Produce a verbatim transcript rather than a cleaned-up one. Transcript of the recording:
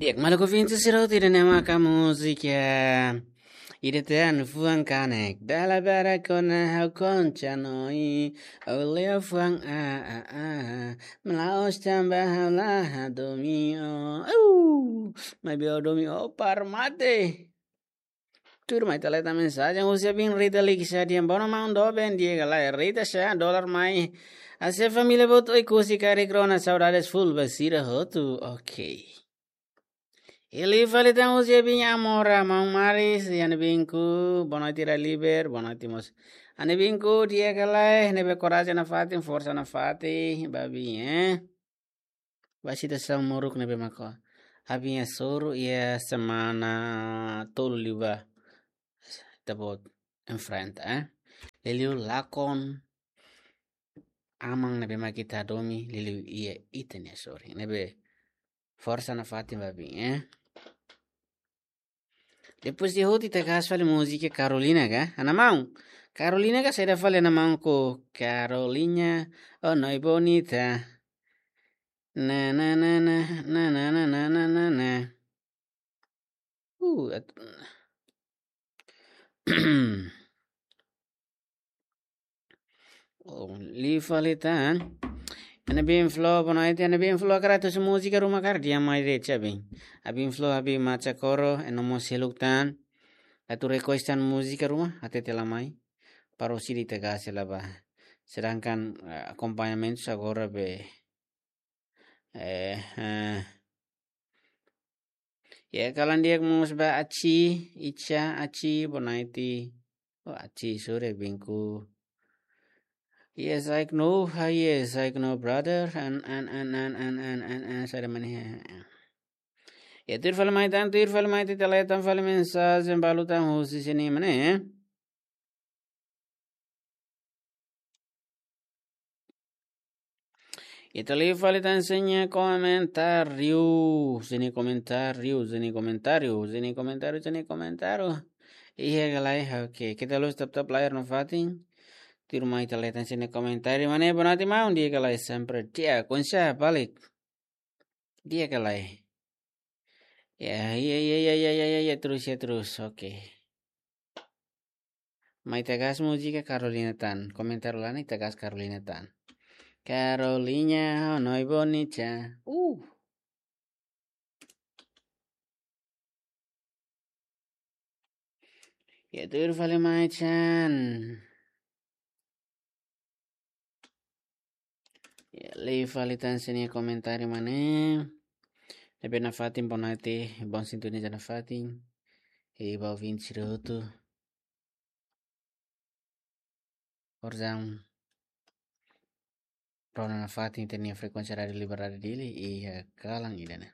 Di'ak, maluk ouvinte sira hotu, ida-ne'e maka múzika ida tan, fuan kanek. Dala barak ona ha'u kontinua, ha'u leo fuan a, a, a. La'ós tanba ha'u la hadomi ó. Au! Maibé ha'u hadomi ó para mate. Tuirmai ita leta mensajen husi abin Rita Likisha dehan: "Boa noite maun, doben di'ak ka lae?" Rita sá, dolar mai. Hase'e família boot Oekusi karik rona, saudades full ba sira hotu. Ok. Liu fali tan husi abin Amora, maun Maris, i ha'u-nia abinku, boa noite Raliber, boa noite mós. Ha'u-nia abinku, di'ak ka lae, ne'ebé korajen nafatin, forsa nafatin ba abin, eh. Ba situasaun moruk ne'ebé maka abin hasoru iha semana tolu liubá ita-boot enfrenta, eh. Liuliu lakon aman ne'ebé maka ita hadomi, liuliu iha ita-nia sorin. Ne'ebé forsa nafatin ba abin, eh. Depois de hotu ita gas fali múzika Carolina ka? Ha'u-nia maun. Carolina ka, saida fali ha'u-nia maun, ko Carolina. Oh, noi bonita. Na, na, na, na. Uh, at- Oh, liu fali tan. Ha'u-nia abin Flo, boa noite, ha'u-nia abin Flo, hakarak tuir múzika ruma ka lae, dehan mai de'it abin. Abin Flo, abin Macha Koro, ema mós seluk tan. Atu request tan múzika ruma, hatete lai mai. Para orsida ita gas hela ba. Sedangkan, eh, akompañamentu agora be. Eh, eh. Ya, kalan di'ak mós ba Aci, Ica, Aci, boa noite. Oh, Aci, sore binku. Yes, I know. Ah, yes, I know, brother. And, and, and, and, and, and, and, and, saida mak ne'e. Ya, tuir fali mai tan, tuir fali mai, ita leta fali mensajen balu tan husi sira-nia mana, eh? Ita liu fali tan sira-nia komentáriu, sira-nia komentáriu, sira-nia komentáriu, sira-nia komentáriu, sira-nia komentáriu. Iha ka lae, oke. Ita la'o tap-tap layar nafatin. Tuirmai ita leta sira-nia komentáriu. Mana, boa noite maun, di'ak ka lae, sempre di'ak. Konsa balik. Di'ak ka lae. Ya, ya, ya, terus, ya, terus. Oke. Mai ita gas múzika Carolina tan. Komentáriu la'ós, ita gas Carolina tan. Carolina, oh, noi bonita. Uh. Ya, tuir fali mai tan. Ya, liu fali tan sira-nia komentáriu mana. Ne'ebé nafatin, boa noite, bom sintonia nafatin. I ba ouvinte sira hotu. Orsida rona nafatin ita-nia frekuénsia Rádiu Liberdade Dili iha kalan ida-ne'e.